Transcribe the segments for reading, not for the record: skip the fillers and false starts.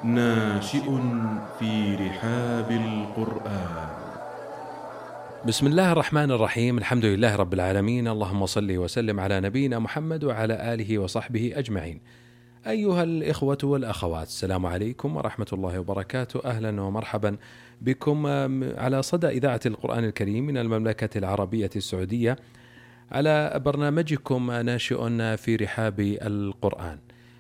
ناشئ في رحاب القرآن. بسم الله الرحمن الرحيم. الحمد لله رب العالمين، اللهم صل وسلم على نبينا محمد وعلى آله وصحبه أجمعين. أيها الإخوة والأخوات، السلام عليكم ورحمة الله وبركاته. أهلا ومرحبا بكم على صدى إذاعة القرآن الكريم من المملكة العربية السعودية، على برنامجكم ناشئ في رحاب القرآن.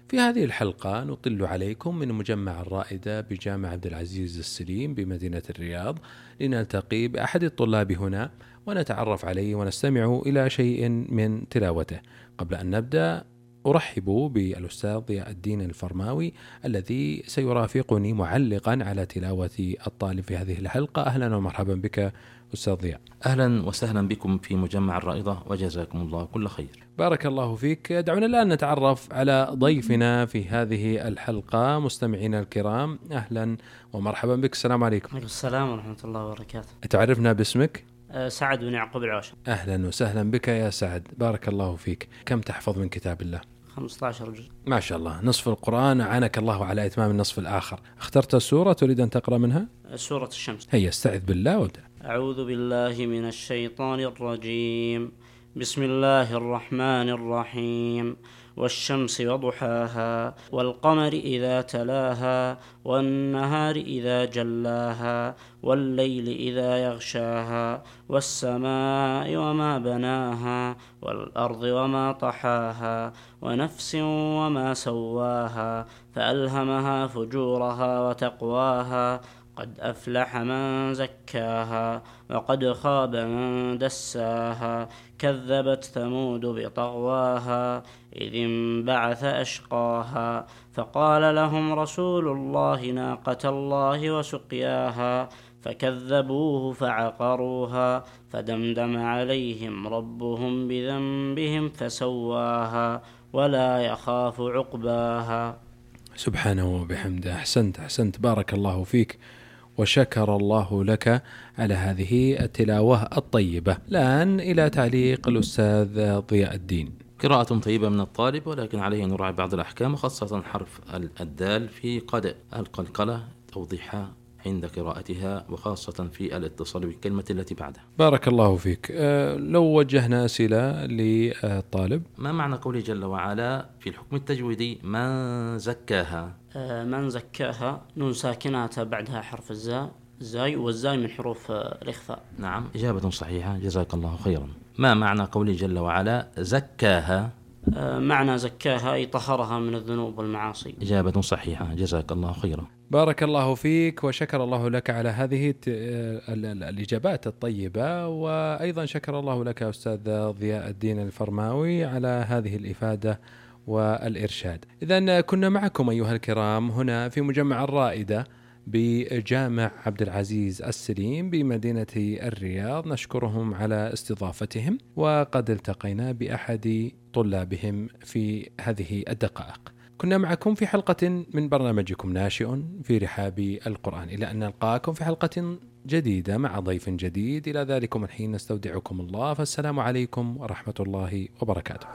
في هذه الحلقة نطل عليكم من مجمع الرائدة بجامع عبد العزيز السليم بمدينة الرياض، لنلتقي بأحد الطلاب هنا ونتعرف عليه ونستمع إلى شيء من تلاوته. قبل أن نبدأ أرحب بالأستاذ ضياء الدين الفرماوي الذي سيرافقني معلقا على تلاوة الطالب في هذه الحلقة. أهلا ومرحبا بك أستاذ ضياء. أهلا وسهلا بكم في مجمع الرائدة، وجزاكم الله كل خير. بارك الله فيك. دعونا الآن نتعرف على ضيفنا في هذه الحلقة. مستمعينا الكرام، أهلا ومرحبا بك. السلام عليكم. السلام ورحمة الله وبركاته. تعرفنا باسمك؟ سعد بن يعقوب العوشة. أهلا وسهلا بك يا سعد، بارك الله فيك. كم تحفظ من كتاب الله؟ 15 جزء. ما شاء الله، نصف القرآن. أعانك الله على إتمام النصف الآخر. اخترت السورة تريد أن تقرأ منها؟ سورة الشمس. هيا استعذ بالله وابدأ. أعوذ بالله من الشيطان الرجيم. بسم الله الرحمن الرحيم. والشمس وضحاها والقمر إذا تلاها والنهار إذا جلاها والليل إذا يغشاها والسماء وما بناها والأرض وما طحاها ونفس وما سواها فألهمها فجورها وتقواها. قد أفلح من زكاها وقد خاب من دساها. كذبت ثمود بطغواها إذ انبعث أشقاها فقال لهم رسول الله ناقة الله وسقياها فكذبوه فعقروها فدمدم عليهم ربهم بذنبهم فسواها ولا يخاف عقباها. سبحانه وبحمده. أحسنت بارك الله فيك، وشكر الله لك على هذه التلاوة الطيبة. الآن إلى تعليق الأستاذ ضياء الدين. قراءة طيبة من الطالب، ولكن عليه أن يراعي بعض الأحكام، وخاصة حرف الدال في قد القلقلة توضيحها عند قراءتها، وخاصة في الاتصال بالكلمة التي بعدها. بارك الله فيك. لو وجهنا أسئلة للطالب. ما معنى قوله جل وعلا في الحكم التجويدي من زكاها؟ من زكاها نون ساكنة بعدها حرف الزاي، والزاي من حروف الإخفاء. نعم، إجابة صحيحة، جزاك الله خيرا. ما معنى قوله جل وعلا زكاها؟ معنى زكاها أي طهرها من الذنوب والمعاصي. إجابة صحيحة، جزاك الله خيرا. بارك الله فيك، وشكر الله لك على هذه الإجابات الطيبة، وأيضا شكر الله لك أستاذ ضياء الدين الفرماوي على هذه الإفادة والإرشاد. إذن كنا معكم أيها الكرام هنا في مجمع الرائدة بجامع عبد العزيز السليم بمدينة الرياض، نشكرهم على استضافتهم، وقد التقينا بأحد طلابهم في هذه الدقائق. كنا معكم في حلقة من برنامجكم ناشئ في رحاب القرآن، إلى أن نلقاكم في حلقة جديدة مع ضيف جديد. إلى ذلكم الحين نستودعكم الله، فالسلام عليكم ورحمة الله وبركاته.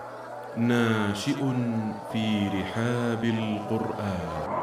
ناشئ في رحاب القرآن.